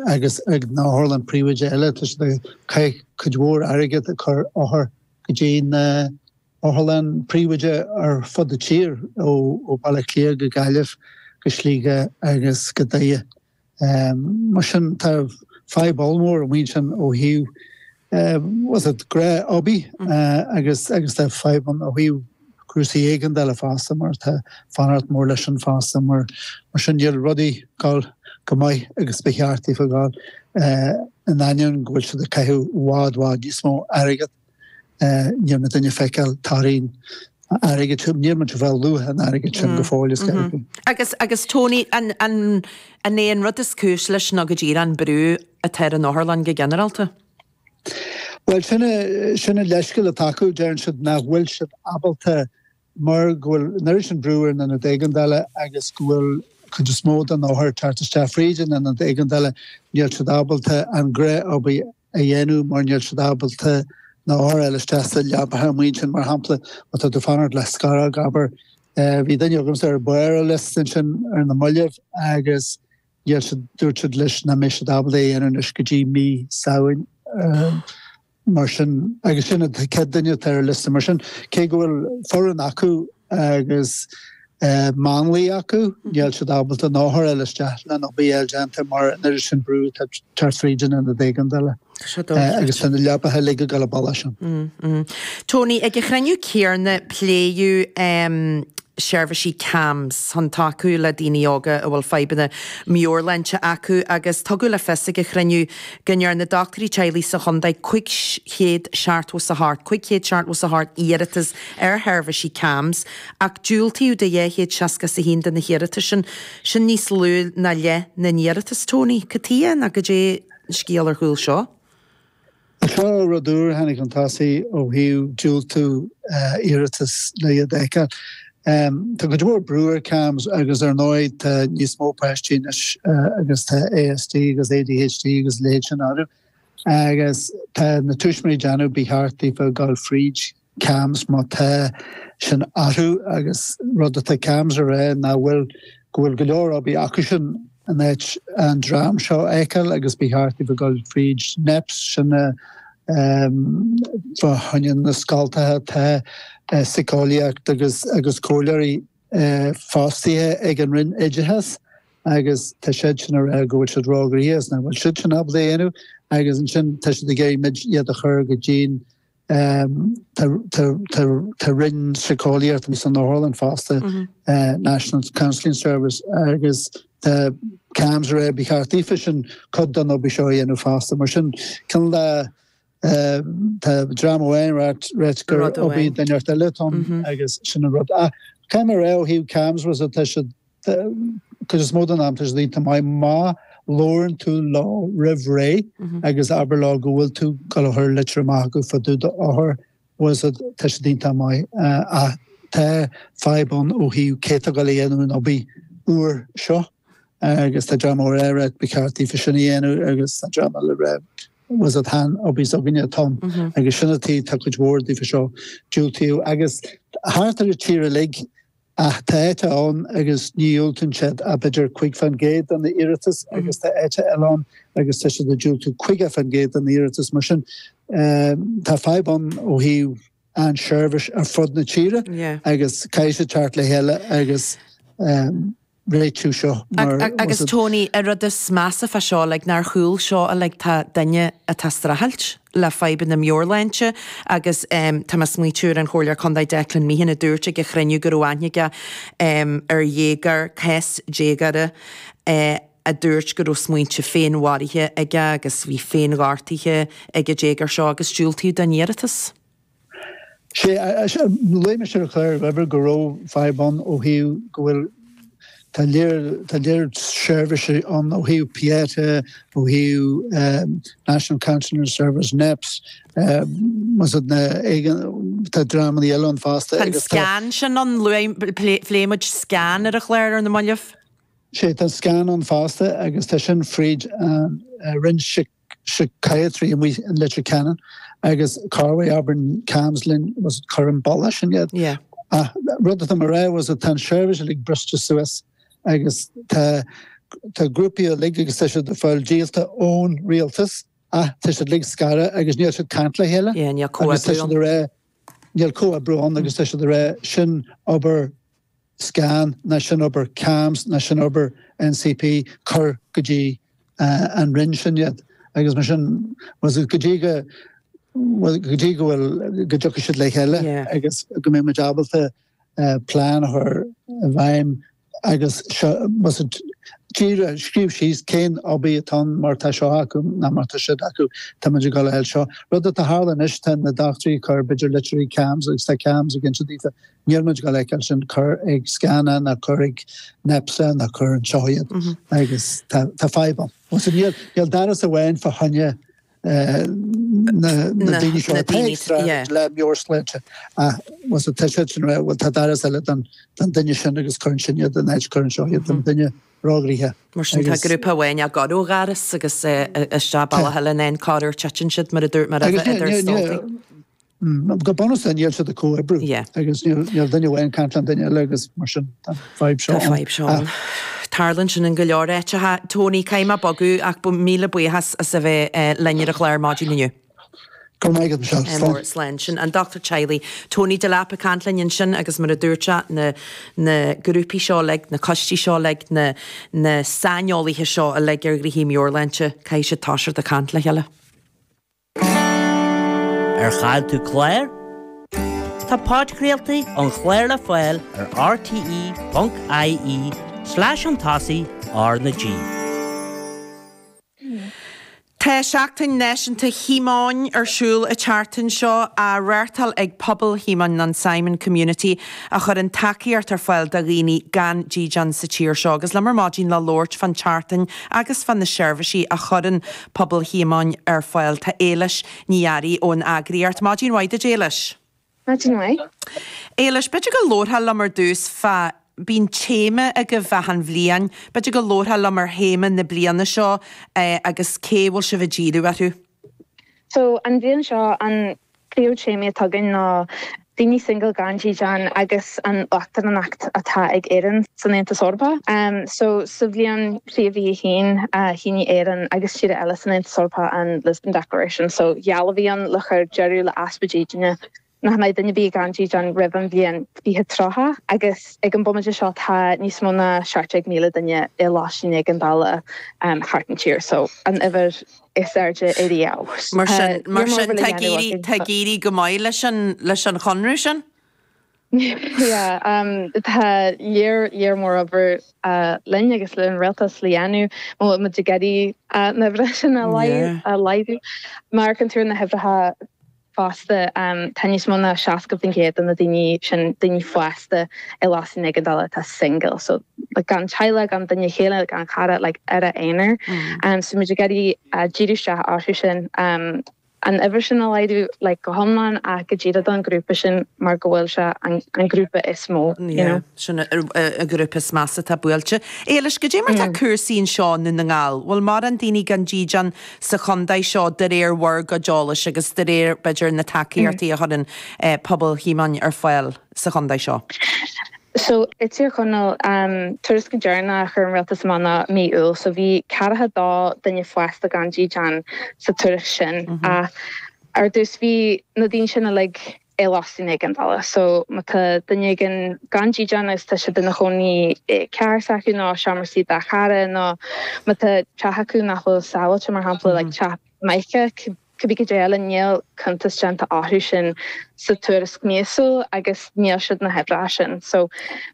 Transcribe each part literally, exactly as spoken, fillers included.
Agus ag na hotharlann príobháideacha eile, tá siad ag caitheamh cuid mhór airgead ag cur othar go dtí na otharlann príobháideacha ar fud na tír, ó Baile Átha Cliath go Gaillimh go Sligeach agus go Doire. Mar sin tá fadhb ollmhór amuigh ansin ó thaobh was it grá oibí agus agus tá fadhb ann ó thaobh cúrsaí éigeandála fosta mar tá fanacht mór leis an fosta mar mar sin níl rudaí ag gabháil go maith agus ba cheart daofa gabháil in ainneoin go bhfuil siad ag caitheamh i bhfad bhfad níos mó airgead níl muid ag feiceáil torthaí an airgid sin níl muid ag fáil luach an airgid sin go fóill is mm-hmm. Agus agus Tony an an an é an rud is cúis leis ná go díreach an brú atá ar an otharlann go ginearálta? Well sin sin an leithscéal atá acu deireann siad nach bhfuil siad ábalta mar go bhfuil an oiread sin brú ar na hionaid éigeandála agus go bhfuil cuid is mó den othar teacht isteach fríd an ionad éigeandála níl siad ábalta an gnáthobair a dhéanamh mar níl siad ábalta na hothair a fháil isteach sa leapacha amuigh ansin mar shampla má tá tú fanacht le scaróg abair bhí duine agamsa ar barr an liosta ansin ar na mallaibh agus níl siad dúirt siad leis nach mbeidh siad ábalta é a dhéanamh anois go dtí mí Samhain mar sin agus sin an chéad duine atá ar an liosta mar sin cé go bhfuil foireann acu agus máinlia acu níl siad ábalta na hothair a fháil isteach lena obair a fháil déanta mar an oiread sin brú atá ag teacht fríd an ionad éigeandála agus tá na leapacha uilig ag dul an bealach sin. Tony, ag an chruinniú céanna pléadh seirbhísí CAMHS chun tacú le daoine óga a bhfuil fadhbanna meabhairshláinte acu agus tugadh le fios ag an chruinniú go ndearna dochtúirí teaghlaigh sa chontae cúig chéad seachtó is a hocht, cúig chéad seachtó is a hocht iarratas ar sheirbhísí CAMHS ach diúltaíodh do dhá chéad seasca is a haon de na hiarratais sin, sin níos lú ná leath na n-iarratas, Tony. Cad chuige nó cad é an scéal ar chúl seo? Seo rud úr a tháinig chun tosaigh ó thaobh diúltú iarratas le iad a fheiceáil. Tá cuid mhór brú ar CAMHS agus ar ndóigh tá níos mó páistí anois agus tá ASD agus ADHD agus a leithéid sin orthu agus tá na tuismitheoirí ag déanamh ba cheart daofa dul fríd CAMHS má tá sin orthu agus rud atá CAMHS a rá ná bhfuil go bhfuil go leor obair acu sin in áit an dream seo a fheiceáil agus ba cheart daofa dul fríd NEPS sin na fá choinne na scoltacha tá síceolaíocht agus agus comhairleoirí fostaithe ag an Roinn Oideachais agus tá siad sin a rá go bhfuil siad róghnoitheach is nach bhfuil siad sin ábalta a dhéanamh agus ansin tá siad ag iarraidh muid iad a chur go dtí'n Tá roinn síceolaíochta san otharlann fosta, National Counselling Service, agus tá CAMHS a rá ba cheart daofa sin cuid den obair seo a dhéanamh fosta. Mar sin, cineál de tá dream amháin ag ráit gur obair duine eile atá ann agus sin an rud. Ach caithfidh mé a rá ó thaobh CAMHS was tá siad cuid is mó den am tá siad iontach maith má labhrann tú leo roimh ré agus abair leo go bhfuil tú ag gabháil a chur litir amach acu fá dtaobh d'othar was it tá siad iontach maith ach tá fadhb ann ó thaobh cé atá ag gabháil a dhéanamh an obair úr seo agus tá dream amháin ag rá ba cheart daofa sin a dhéanamh agus tá dream eile ag rá was it an obair s'againne atá ann agus sin an tuige tá cuid mhór daofa seo diúltaíodh agus thart ar an tír uilig Ach tá áit ann agus ní dhiúltaíonn siad ach b'fhéidir cúig faoin gcéad de na iarratais agus tá áit eile ann agus tá siad ag diúltú caoga faoin gcéad de na iarratais. Mar sin tá fadhb ann ó thaobh an seirbhís ar fud na tíre agus caithfidh siad teacht le chéile agus réitiú seo mar Agus Tony, an rud is measa fá seo, like, nár chúl seo, like, tá duine atá ag streachailt le fadhbanna meabhairshláinte agus tá mé ag smaoitiú ar an Chomhairleoir Contae Declan Meehan a dúirt ag an chruinniú go raibh aithne aige ar dhéagóir, cás déagóra a dúirt go raibh smaointe féinmharaithe aige agus bhí féinghortaithe ag an déagóir seo agus diúltaíodh don iarratas. Sé, luaigh mise ar an chlár roimhe go raibh fadhb ann ó thaobh go bhfuil, tá léir, tá léir seirbhísí ann ó thaobh Pieta, ó thaobh National Counselling Service, NEPS, was it na, tá dreamanna eile ann fosta Tá an agus tá. SCAN sin ann, luaigh, phléigh muid SCAN ar an chlár ar na mallaibh. Sé, tá an SCAN ann fosta agus tá sin fríd an Roinn Psychiatry amuigh in Leitir Ceanainn agus corruair abraíonn CAMHS linn was cuir an bealach sin iad. Yeah. Ach rud atá mé a rá was tá an seirbhís uilig briste suas agus tá tá grúpaí uilig agus tá siad ag fáil díolta ón rialtas ach tá siad uilig scartha agus níl siad ag caint le chéile. Yeah, níl Agus tá comhoibriú siad ann. ag rá níl comhoibriú ann agus tá siad ag rá sin obair SCAN ná sin obair CAMHS ná sin obair NCP cuir go dtí uh, an roinn sin iad. Agus mar sin was go dtí go well, go dtí go bhfuil go dtiocfaidh siad le chéile Yeah. agus go mbeidh muid ábalta uh, plean a chur i bhfeidhm agus seo was it díreach scríobh síos cén obair atá mar tá seo acu ná mar tá siad acu tá muid ag dul eil seo. Rud atá tharla anois tá na dochtúirí ag cur b'fhéidir litir ag CAMHS agus tá CAMHS ag inse daofa níl muid ag dul feiceáil sin cur ag SCAN ná cur ag NEPSA ná cur anseo iad agus tá tá fadhb ann. Was it níl níl doras amháin fá choinne eh, na na Na- daoine seo na atá daoine, ag streachailt yeah. le meabhairshláinte was it tá siad sin rá, well tá doras eile don don duine sin agus cuireann sin iad den áit cuireann seo iad don duine róghraithe. Mar sin tá Agus- grúpa amháin ag gabháil ó dhoras agus eh, isteach bealach eile in corruair titeann siad mar a dúirt mar Agus a ní- idir ní- ní- stoltaí. Mm, Go bunúsach níl siad ag comhoibriú Yeah. agus níl níl duine amháin ag caint le duine eile agus mar sin tá fadhb seo Tá ann. fadhb seo ann. Tarlaíonn sin in go leor áiteacha Tony caithfidh mé bogadh ach bu míle buíochas as a bheith eh, linn ar an chlár maidin inniu. Go raibh maith agat, Michelle. Slán. Mór slán sin an dochtúir teaghlaigh Tony Delap ag caint linn ansin agus mar a dúirt sé na na grúpaí seo uilig, na coistí seo uilig, na na saineolaithe seo uilig ar ghnoithí meabhairshláinte, caithfidh siad toiseacht ag caint le chéile. Ar chaill tú clár? Tá podchraoltaí an chláir le fáil ar rte.ie slash an tosaigh R na G. Tá Seachtain Náisiúnta Shíomóin ar siúl an tseachtain seo á reáchtáil ag pobal Shíomóin an Simon Community a chuireann tacaíocht ar fáil do dhaoine gan dídean sa tír seo, agus liom ar maidin le labhairt fán tseachtain agus fá na seirbhísí a chuireann pobal Shíomóin ar fáil tá Éilis Ní Fhearraigh ón eagraíocht. Maidin mhaith duit Éilis. Maidin mhaith. Éilis, b'fhéidir go labharfá liom ar dtús fá bíonn téama agaibh achan bhliain, b'fhéidir go labharfá liom ar théama na bliana seo eh, agus cé bhfuil sibh ag díriú orthu. So an bhliain seo an príomhthéama atá againn ná daoine single gan dídean agus an uachtaránacht atá ag Éirinn san Aontas Eorpach. Um, so sa bhliain trí mhí haon uh, shínigh Éirinn agus tíortha eile san Aontas Eorpach an Lisbon Declaration, so geall a bhí ann le chur deireadh le easpa dídine nach mbeidh duine ar bith gan dídean roimh an bhliain fiche tríocha agus ag an bomaite seo tá níos mó ná seacht déag míle duine i lóistín éigeandála um, thart an tír, so an uimhir is airde ariamh. Mar sin Uh, mar níor sin mór tá le dhéanamh éirí againn, tá so- éirí go maith leis an leis an chonradh sin? Yeah, um, tá léir léir mór obair uh, linn agus le an rialtas le dhéanamh má muid ag iarraidh uh, na huimhreacha sin a Yeah. a laghdú. Mar an tú na huimhreacha fásta um, tá níos mó ná seasca faoin gcéad de na daoine sin daoine fásta i lóistín éigeandála atá single, so like, gan teaghlach gan duine chéile gan cara like, ar a aonar. Um, so muid ag iarraidh uh, díriú isteach orthu sin um, an uimhir sin a laghdú like, go hiomlán ach go díreach don grúpa sin mar go bhfuil sé an, an grúpa is mó. you Yeah, know. sin a grúpa is measa atá buailte. Éilis goidé mar tá cúrsaí anseo i nDún na nGall, Bhfuil mórán daoine gan dídean sa chontae seo de réir bhur gcuid eolais agus de réir b'fhéidir na tacaíochtaí a chuireann eh, pobal Shíomóin ar fáil sa chontae seo. So i Tír Chonaill um, tuairisc deireanach a chuir an rialtas amach ná mí Iúil, so bhí ceathracha dó duine fásta gan dídean sa tuairisc sin. Mm -hmm. uh, ar dtús bhí na daoine sin uilig i lóistín éigeandála, so má tá duine gan gan dídean agus tá siad ina chónaí i carr s'acu nó seomra suí dá chara nó má tá teach acu nach bhfuil sábháilte mar shampla like teach maidhce cibé cad eile níl cuntas déanta orthu sin sa tuairisc míosúil agus níl siad na huimhreacha sin. So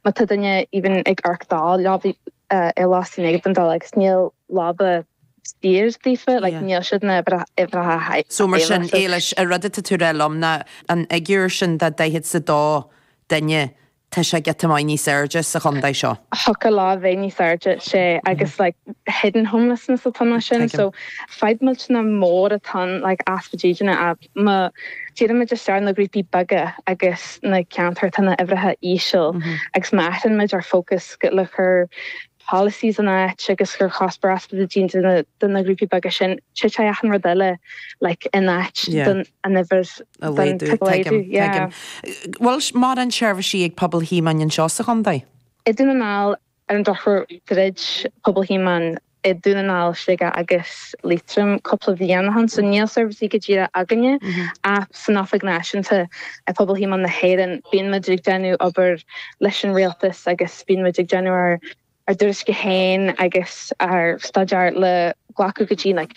má tá duine even ag amharc dá leaba uh, i lóistín éigeandála agus níl leaba saor daofa, like Yeah. níl siad na huimhreacha So mar sin Éilis an rud atá tú a rá liom ná an fhigiúr sin de daichead is a dó duine tá sé giota maith níos airde sa chontae seo. Thiocfadh le bheith níos airde sé agus like hidden homelessness atá sin Tuigim. so fadhb millteanach mór atá like easpa dídine a má dírímid isteach na grúpaí beaga agus na ceantair tá na huimhreacha íseal agus má athraímid ár focus go le chur policies an áit agus gur cuspóir easpa dídine de de na grúpaí beaga sin titfidh achan rud eile like in áit Yeah. don an uimhir A don laghdú, laghdú, yeah. Bhfuil mórán seirbhísí ag pobal Shíomóin anseo sa chontae? I Dún na nGall Ar an drochuair dhruid Pobal Shíomóin i Dún na nGall, Sligeach agus Liatroim cúpla bliain ó shin, so níl seirbhísí go díreach againne ach san Oifig Náisiúnta Pobal Shíomóin na hÉireann bíonn muid ag déanamh obair leis an rialtas agus bíonn muid ag déanamh ár ár dtuairisce féin agus ár staidéar le glacadh go dtí like